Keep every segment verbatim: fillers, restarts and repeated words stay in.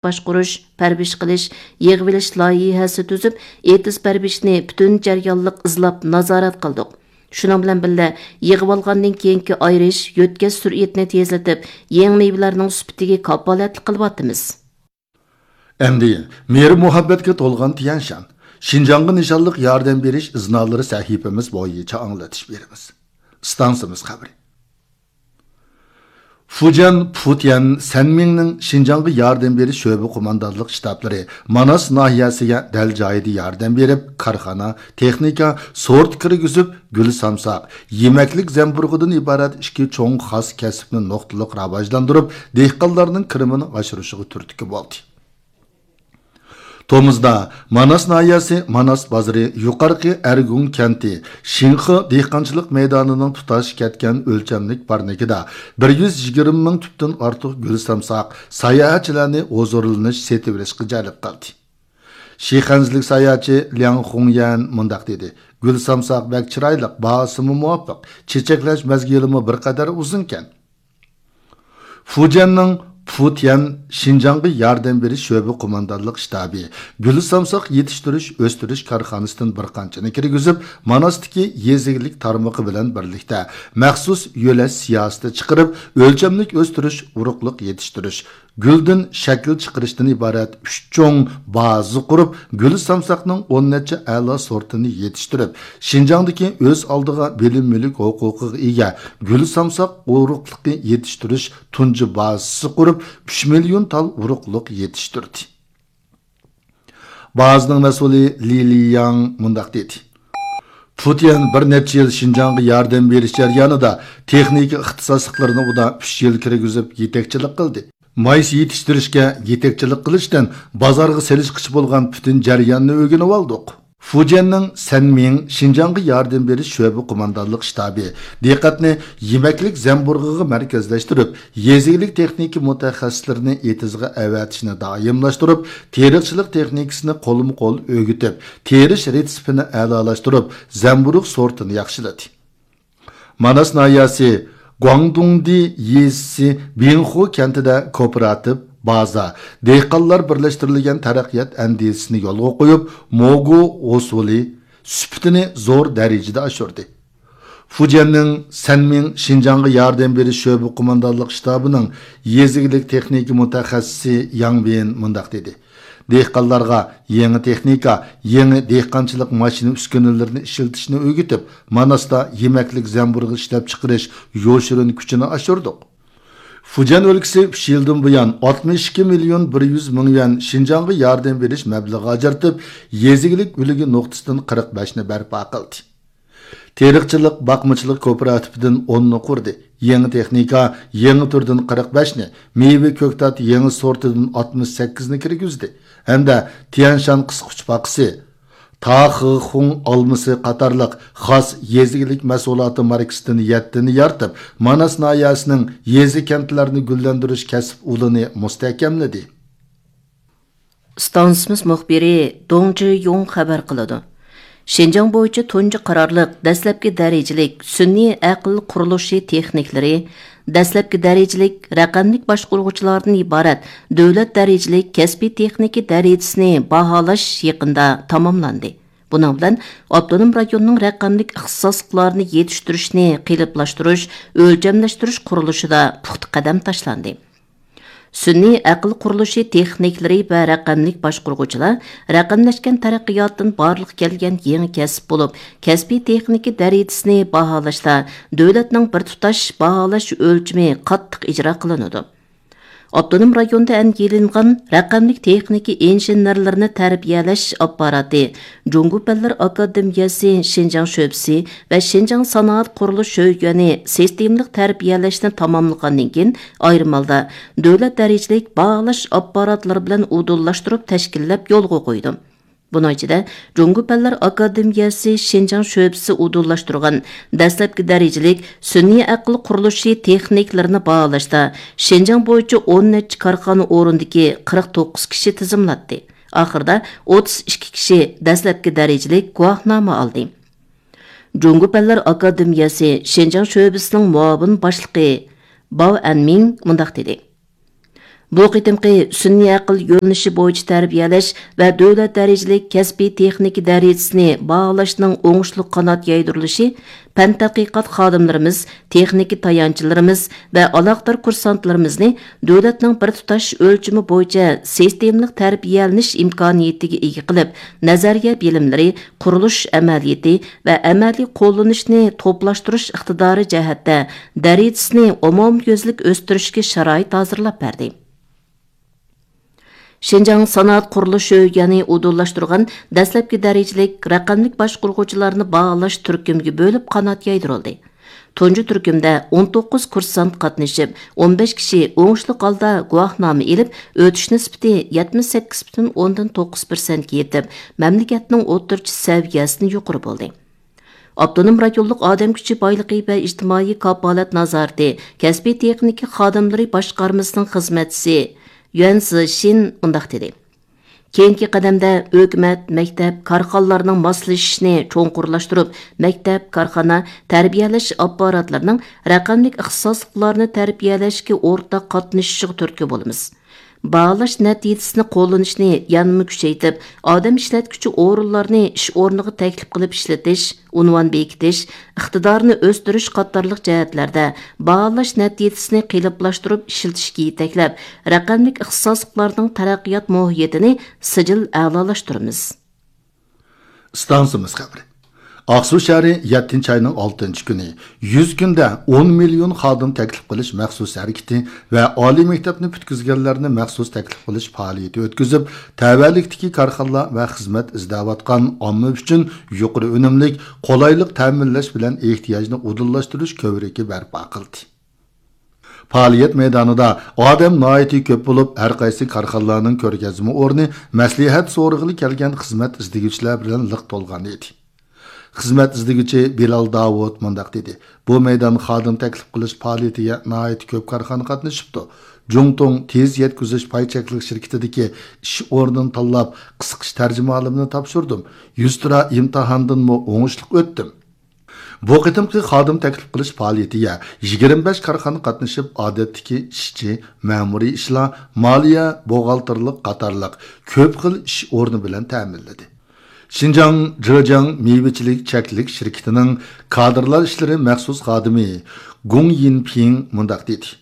باشقۇرۇش، پەرۋىش قىلىش، يىغىۋېلىش لايىھەسى تۈزۈپ، ئېتىز پەرۋىشنى پۈتۈن جەريانلىق ئىزلاپ نازارەت قىلدۇق. شۇنىڭ بىلەن بىللە، يىغىۋالغاندىن كېيىنكى ئايرىش، يۆتكەش سۈرئىتىنى تېزلىتىپ، يېڭى مېۋىلەرنىڭ سۈپىتىگە كاپالەتلىك قىلىۋاتىمىز. ئەمدى مېھرى-مۇھەببەتكە تولغان تيەنشان، شىنجاڭغا نىشانلىق ياردەم بېرىش ئىزنالىرى سەھىپىمىز بويىچە ئاڭلىتىش بېرىمىز. ئىستانسىمىز خەۋىرى. فۇجيەن پۇتيەن سەنمىڭنىڭ شىنجاڭغا ياردەم بېرىش شۆبە قوماندانلىق شتابلىرى ماناس ناھىيەسىگە دەل جايىدا ياردەم بېرىپ، كارخانا، تېخنىكا، سورت كىرگۈزۈپ، گۈل سامساق، يېمەكلىك زەمبۇرۇغىدىن ئىبارەت ئىككى چوڭ خاس كەسىپنى نۇقتىلىق راۋاجلاندۇرۇپ، دېھقانلارنىڭ كىرىمىنى ئاشۇرۇشىغا تۈرتكە بولدى. تومۇزدا ماناس ناھىيەسى ماناس بازىرى يۇقارقى ئەرگۇڭ كەنتى شىنخې دېھقانچىلىق مەيدانىنىڭ تۇتاش كەتكەن ئۆلچەملىك پارنىكىدا بىر يۈز يىگىرمە مىڭ تۈپتىن ئارتۇق گۈل سامساق ساياھەتچىلەرنى ھۇزۇرلىنىش، سېتىۋېلىشقا جەلپ قىلدى. شىخەنزىلىك ساياھەتچى لياڭ خۇڭيەن مۇنداق دېدى: «گۈل سامساق بەك چىرايلىق، باھاسىمۇ مۇۋاپىق، چېچەكلەش مەزگىلىمۇ بىر قەدەر ئۇزۇنكەن.» فۇجيەننىڭ پۇتيەن شىنجاڭغا ياردەم بېرىش شۆبە قوماندانلىق شتابى گۈل سامساق يېتىشتۈرۈش، ئۆستۈرۈش كارخانىسىدىن بىر قانچىنى كىرگۈزۈپ، ماناستىكى يېزا ئىگىلىك تارمىقى بىلەن بىرلىكتە مەخسۇس يۆلەش سىياسىتى چىقىرىپ، ئۆلچەملىك ئۆستۈرۈش، ئۇرۇقلۇق يېتىشتۈرۈش، گۈلدىن شەكىل چىقىرىشتىن ئىبارەت ئۈچ چوڭ بازا قۇرۇپ، گۈل سامساقنىڭ ئون نەچچە ئەلا سورتىنى يېتىشتۈرۈپ، شىنجاڭدىكى ئۆز ئالدىغا بىلىم مۈلۈك ھوقۇقىغا ئىگە گۈل سامساق ئۇرۇقلۇقى يېتىشتۈرۈش تۇنجى بازىسى قۇرۇپ، ئۈچ مىليون تال ئۇرۇقلۇق يېتىشتۈردى. بازىنىڭ مەسئۇلى لى لىياڭ مۇنداق دېدى: پۇتيەن بىر نەچچە يىل شىنجاڭغا ياردەم بېرىش جەريانىدا تېخنىكا ئىختىساسلىقلىرىنى ئۇدا ئۈچ يىل كىرگۈزۈپ يېتەكچىلىك قىلدى. مايسا يېتىشتۈرۈشكە يېتەكچىلىك قىلىشتىن بازارغا سېلىشقىچە بولغان پۈتۈن جەرياننى ئۆگىنىۋالدۇق. فۇجيەننىڭ سەنمىڭ شىنجاڭغا ياردەم بېرىش شۆبە قوماندانلىق شتابى دىققەتنى يېمەكلىك زەمبۇرۇغىغا مەركەزلەشتۈرۈپ، يېزا ئىگىلىك تېخنىكا مۇتەخەسسىسلىرىنى ئېتىزغا ئەۋەتىشنى دائىملاشتۇرۇپ، تېرىقچىلىق تېخنىكىسىنى قولمۇ قول ئۆگىتىپ، تېرىش رېتسېپىنى ئەلالاشتۇرۇپ، زەمبۇرۇغ سورتىنى ياخشىلىدى. ماناس ناھىيەسى گۇاڭدۇڭدى يېزىسى بىڭخۇ كەنتىدە كوپىراتىپ بازا، دېھقانلار بىرلەشتۈرۈلگەن تەرەققىيات ئەندىزىسىنى يولغا قويۇپ، موگۇ ھوسۇلى سۈپىتىنى زور دەرىجىدە ئاشۇردى. فۇجيەننىڭ سەنمىڭ شىنجاڭغا ياردەم بېرىش شۆبە قوماندانلىق شتابىنىڭ يېزا ئىگىلىك تېخنىكا مۇتەخەسسىسى ياڭ بىن مۇنداق دېدى: دېھقانلارغا يېڭى تېخنىكا، يېڭى دېھقانچىلىق ماشىنا ئۈسكۈنىلىرىنى ئىشلىتىشنى ئۆگىتىپ، ماناستا يېمەكلىك زەمبۇرۇغى ئىشلەپچىقىرىش يوشۇرۇن كۈچىنى ئاشۇردۇق. فۇجيەن ئۆلكىسى ئۈچ يىلدىن بۇيان ئاتمىش ئىككى مىليون بىر يۈز مىڭ يۈەن شىنجاڭغا ياردەم بېرىش مەبلىغى ئاجرىتىپ، يېزا ئىگىلىك ئۈلگە نۇقتىسىدىن قىرىق بەشنى بەرپا قىلدى. تېرىقچىلىق باقمىچىلىق كوپىراتىپىدىن ئوننى قۇردى. يېڭى تېخنىكا، يېڭى تۈردىن قىرىق بەشنى، مېۋە كۆكتات يېڭى سورتىدىن ئاتمىش سەككىزنى كىرگۈزدى ھەمدە تيەنشان قىسقۇچ پاقىسى، تاخېخۇڭ ئالمىسى قاتارلىق خاس يېزا ئىگىلىك مەھسۇلاتى ماركىسىدىن يەتتىنى يارىتىپ، ماناس ناھىيەسىنىڭ يېزا، كەنتلەرنى گۈللەندۈرۈش كەسىپ ئۇلىنى مۇستەھكەملىدى. ئىستانسىمىز مۇخبىرى دۇڭ جىيۇڭ خەۋەر قىلىدۇ. شىنجاڭ بويىچە تۇنجى قارارلىق دەسلەپكى دەرىجىلىك سۈنئىي ئەقىل قۇرۇلۇشى تېخنىكلىرى، دەسلەپكى دەرىجىلىك رەقەملىك باشقۇرغۇچىلاردىن ئىبارەت دۆلەت دەرىجىلىك كەسپىي تېخنىكا دەرىجىسىنى باھالاش يېقىندا تاماملاندى. بۇنىڭ بىلەن ئاپتونوم رايوننىڭ رەقەملىك ئىختىساسلىقلارنى يېتىشتۈرۈشنى قېلىپلاشتۇرۇش، ئۆلچەملەشتۈرۈش قۇرۇلۇشىدا پۇختا قەدەم تاشلاندى. سۈنئىي ئەقىل قۇرۇلۇشى تېخنىكلىرى ۋە رەقەملىك باشقۇرغۇچىلار رەقەملەشكەن تەرەققىياتتىن بارلىققا كەلگەن يېڭى كەسىپ بولۇپ، كەسپىي تېخنىكا دەرىجىسىنى باھالاشتا دۆلەتنىڭ بىر تۇتاش باھالاش ئۆلچىمى قاتتىق ئىجرا قىلىنىدۇ. ئاپتونوم رايوندا ئەنگىلىنغان رەقەملىك تېخنىكا ئىنژېنېرلىرىنى تەربىيەلەش ئاپپاراتى، جۇڭگو پەنلەر ئاكادېمىيەسى شىنجاڭ شۆبىسى ۋە شىنجاڭ سانائەت قۇرۇلۇش شۆيۈەنى سىستېمىلىق تەربىيەلەشنى تاماملىغاندىن كېيىن، ئايرىم ھالدا دۆلەت دەرىجىلىك باھالاش ئاپپاراتلىرى بىلەن ئۇدۇللاشتۇرۇپ تەشكىللەپ يولغا قويىدۇ. بۇنىڭ ئىچىدە، جۇڭگو پەنلەر ئاكادېمىيەسى شىنجاڭ شۆبىسى ئۇدۇللاشتۇرغان دەسلەپكى دەرىجىلىك سۈنئىي ئەقىل قۇرۇلۇشى تېخنىكلىرىنى باھالاشتا شىنجاڭ بويىچە ئون نەچچە كارخانا ئورنىدىكى قىرىق توققۇز كىشى تىزىملاتتى. ئاخىرىدا ئوتتۇز ئىككى كىشى دەسلەپكى دەرىجىلىك گۇۋاھنامە ئالدى. جۇڭگو پەنلەر ئاكادېمىيەسى شىنجاڭ شۆبىسىنىڭ مۇئاۋىن باشلىقى باۋ ئەنمىڭ مۇنداق دېدى: بۇ قېتىمقى سۈنئىي ئەقىل يۆنىلىشى بويىچە تەربىيەلەش ۋە دۆلەت دەرىجىلىك كەسپىي تېخنىكا دەرىجىسىنى باھالاشنىڭ ئوڭۇشلۇق قانات يايدۇرۇلۇشى پەن تەتقىقات خادىملىرىمىز، تېخنىكا تايانچلىرىمىز ۋە ئالاقىدار كۇرسانتلىرىمىزنى دۆلەتنىڭ بىر تۇتاش ئۆلچىمى بويىچە سىستېمىلىق تەربىيەلىنىش ئىمكانىيىتىگە ئىگە قىلىپ، نەزەرىيە بىلىملىرى، قۇرۇلۇش ئەمەلىيىتى ۋە ئەمەلىي قوللىنىشنى توپلاشتۇرۇش ئىقتىدارى جەھەتتە دەرىجىسىنى ئومۇميۈزلۈك ئۆستۈرۈشكە شارائىت ھازىرلاپ بەردى. شىنجاڭ سانائەت قۇرۇلۇشى يەنى ئۇدۇللاشتۇرغان دەسلەپكى دەرىجىلىك رەقەملىك باشقۇرغۇچىلارنى باھالاش تۈركۈمگە بۆلۈپ قانات يايدۇرۇلدى. تۇنجى تۈركۈمدە ئون توققۇز كۇرسانت قاتنىشىپ، ئون بەش كىشى ئوڭۇشلۇق ھالدا گۇۋاھنامە ئېلىپ، ئۆتۈش نىسبىتى يەتمىش سەككىز پۈتۈن ئوندىن توققۇز پىرسەنتكە يېتىپ، مەملىكەتنىڭ ئوتتۇرىچە سەۋىيەسىدىن يۇقىرى بولدى. ئاپتونوم رايونلۇق ئادەم كۈچى بايلىقى ۋە ئىجتىمائىي كاپالەت نازارىتى كەسپىي تېخنىكا خادىملىرى باشقارمىسىنىڭ خىزمەتچىسى يۈەن زىشىن مۇنداق دېدى: كېيىنكى قەدەمدە ھۆكۈمەت، مەكتەپ، كارخانىلارنىڭ ماسلىشىشىنى چوڭقۇرلاشتۇرۇپ، مەكتەپ، كارخانا، تەربىيەلەش ئاپپاراتلىرىنىڭ رەقەملىك ئىختىساسلىقلارنى تەربىيەلەشكە ئورتاق قاتنىشىشىغا تۈرتكە بولىمىز. باھالاش نەتىجىسىنى قوللىنىشنى يەنىمۇ كۈچەيتىپ، ئادەم ئىشلەتكۈچى ئورۇنلارنى ئىش ئورنىغا تەكلىپ قىلىپ ئىشلىتىش، ئۇنۋان بېكىتىش، ئىقتىدارىنى ئۆستۈرۈش قاتارلىق جەھەتلەردە باھالاش نەتىجىسىنى قېلىپلاشتۇرۇپ ئىشلىتىشكە يېتەكلەپ، رەقەملىك ئىختىساسلىقلارنىڭ تەرەققىيات مۇھىتىنى سىجىل ئەلالاشتۇرىمىز. ئىستانسىمىز خەۋىرى. ئاقسۇ شەھىرى يەتتىنچى ئاينىڭ ئالتىنچى كۈنى يۈز كۈندە ئون مىليون خادىم تەكلىپ قىلىش مەخسۇس ھەرىكىتى ۋە ئالىي مەكتەپنى پۈتكۈزگەنلەرنى مەخسۇس تەكلىپ قىلىش پائالىيىتى ئۆتكۈزۈپ، تەۋەلىكتىكى كارخانىلار ۋە خىزمەت ئىزدەۋاتقان ئامما ئۈچۈن يۇقىرى ئۈنۈملۈك، قولايلىق تەمىنلەش بىلەن ئېھتىياجنى ئۇدۇللاشتۇرۇش كۆۋرۈكى بەرپا قىلدى. پائالىيەت مەيدانىدا ئادەم ناھايىتى كۆپ بولۇپ، ھەر قايسى كارخانىلارنىڭ كۆرگەزمە ئورنى مەسلىھەت سورىغىلى كەلگەن خىزمەت ئىزدىگۈچىلەر بىلەن لىق تولغان ئىدى. خىزمەت ئىزدىگۈچى بىلال داۋۇت مۇنداق دېدى: بۇ مەيدان خادىم تەكلىپ قىلىش پائالىيىتىگە ناھايىتى كۆپ كارخانا قاتنىشىپتۇ. جۇڭتۇڭ تېز يەتكۈزۈش پاي چەكلىك شىركىتىدىكى ئىش ئورنىنى تاللاپ، قىسقىچە تەرجىمىھالىمنى تاپشۇردۇم. يۈزتۇرا ئىمتىھاندىنمۇ ئوڭۇشلۇق ئۆتتۈم. بۇ قېتىمقى خادىم تەكلىپ قىلىش پائالىيىتىگە يىگىرمە بەش كارخانا قاتنىشىپ، ئادەتتىكى ئىشچى، مەمۇرىي ئىشلار، مالىيە، بوغالتىرلىق قاتارلىق كۆپ خىل ئىش ئورنى بىلەن تەمىنلىدى. شىنجاڭ جېجياڭ مېۋىچىلىك چەكلىك شىركىتىنىڭ كادىرلار ئىشلىرى مەخسۇس خادىمى گۇڭ يىنپىڭ مۇنداق دېدى: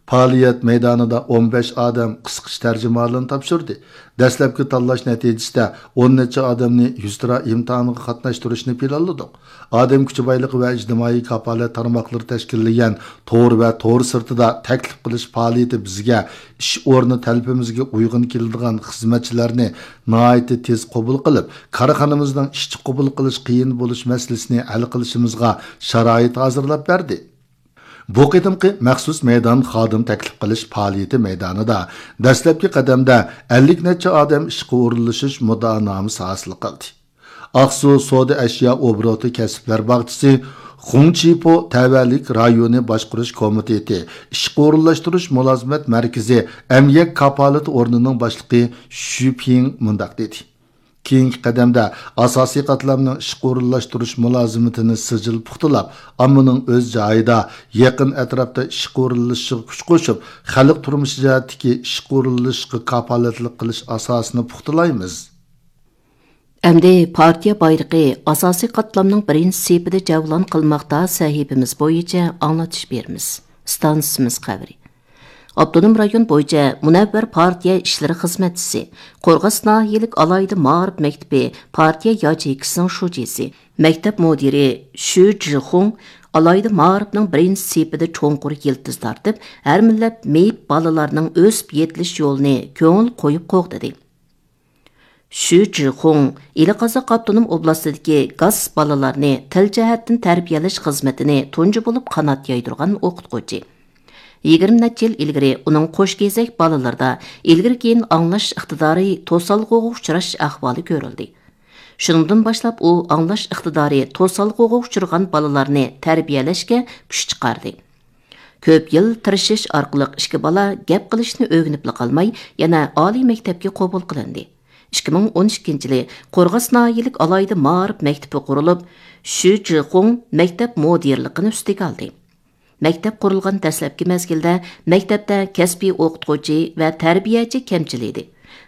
پائالىيەت مەيدانىدا ئون بەش ئادەم قىسقىچە تەرجىمىھالىنى تاپشۇردى. دەسلەپكى تاللاش نەتىجىسىدە ئون نەچچە ئادەمنى يۈزتۇرا ئىمتىھانغا قاتناشتۇرۇشنى پىلانلىدۇق. ئادەم كۈچى بايلىقى ۋە ئىجتىمائىي كاپالەت تارماقلىرى تەشكىللىگەن تور ۋە تور سىرتىدا تەكلىپ قىلىش پائالىيىتى بىزگە ئىش ئورنى تەلىپىمىزگە ئۇيغۇن كېلىدىغان خىزمەتچىلەرنى ناھايىتى تېز قوبۇل قىلىپ، كارخانىمىزنىڭ ئىشچى قوبۇل قىلىش قىيىن بولۇش مەسىلىسىنى ھەل قىلىشىمىزغا شارائىت ھازىرلاپ بەردى. بۇ قېتىمقى مەخسۇس مەيدان خادىم تەكلىپ قىلىش پائالىيىتى مەيدانىدا دەسلەپكى قەدەمدە ئەللىك نەچچە ئادەم ئىشقا ئورۇنلىشىش مۇددىئانامىسى ھاسىل قىلدى. ئاقسۇ سودا ئەشيا ئوبوروتى كەسىپلەر باغچىسى، خۇڭچىپو تەۋەلىك رايونى باشقۇرۇش كومىتېتى، ئىشقا ئورۇنلاشتۇرۇش مۇلازىمەت مەركىزى ئەمگەك كاپالىتى ئورنىنىڭ باشلىقى شۈ پىڭ مۇنداق دېدى: كېيىنكى قەدەمدە ئاساسىي قاتلامنىڭ ئىشقا ئورۇنلاشتۇرۇش مۇلازىمىتىنى سىجىل پۇختىلاپ، ئاممىنىڭ ئۆز جايىدا، يېقىن ئەتراپتا ئىشقا ئورۇنلىشىشىغا كۈچ قوشۇپ، خەلق تۇرمۇشى جەھەتتىكى ئىشقا ئورۇنلىشىشقا كاپالەتلىك قىلىش ئاساسىنى پۇختىلايمىز. ئەمدى پارتىيە بايرىقى ئاساسىي قاتلامنىڭ بىرىنچى سېپىدە جەۋلان قىلماقتا سەھىپىمىز بويىچە ئاڭلىتىش بېرىمىز. ئىستانسىمىز خەۋىرى. ئاپتونوم رايون بويىچە مۇنەۋۋەر پارتىيە ئىشلىرى خىزمەتچىسى، قورغاس ناھىيەلىك ئالاھىدە مائارىپ مەكتىپى پارتىيە ياچېيكىسىنىڭ شۇجىسى، مەكتەپ مۇدىرى شۈ جىخۇڭ ئالاھىدە مائارىپنىڭ بىرىنچى سېپىدە چوڭقۇر يىلتىز تارتىپ، ھەر مىللەت مېيىپ بالىلارنىڭ ئۆسۈپ يېتىلىش يولىنى كۆڭۈل قويۇپ قوغدىدى. شۈ جىخۇڭ ئىلى قازاق ئاپتونوم ئوبلاستىدىكى گاس بالىلارنى تىل جەھەتتىن تەربىيەلەش خىزمىتىنى تۇنجى بولۇپ قانات يايدۇرغان ئوقۇتقۇچى. يىگىرمە نەچچە يىل ئىلگىرى ئۇنىڭ قوش كېزەك بالىلىرىدا ئىلگىرى كېيىن ئاڭلاش ئىقتىدارى توسالغۇغا ئۇچراش ئەھۋالى كۆرۈلدى. شۇنىڭدىن باشلاپ ئۇ ئاڭلاش ئىقتىدارى توسالغۇغا ئۇچرىغان بالىلارنى تەربىيەلەشكە كۈچ چىقاردى. كۆپ يىل تىرىشىش ئارقىلىق ئىككى بالا گەپ قىلىشنى ئۆگىنىپلا قالماي، يەنە ئالىي مەكتەپكە قوبۇل قىلىندى. ئىككى مىڭ ئون ئىككىنچى يىلى قورغاس ناھىيەلىك ئالاھىدە مائارىپ مەكتىپى قۇرۇلۇپ، شۈ جىخۇڭ مەكتەپ مۇدىرلىقىنى ئۈستىگە ئالدى. مەكتەپ قۇرۇلغان دەسلەپكى مەزگىلدە مەكتەپتە كەسپىي ئوقۇتقۇچى ۋە تەربىيەچى كەمچىل ئىدى.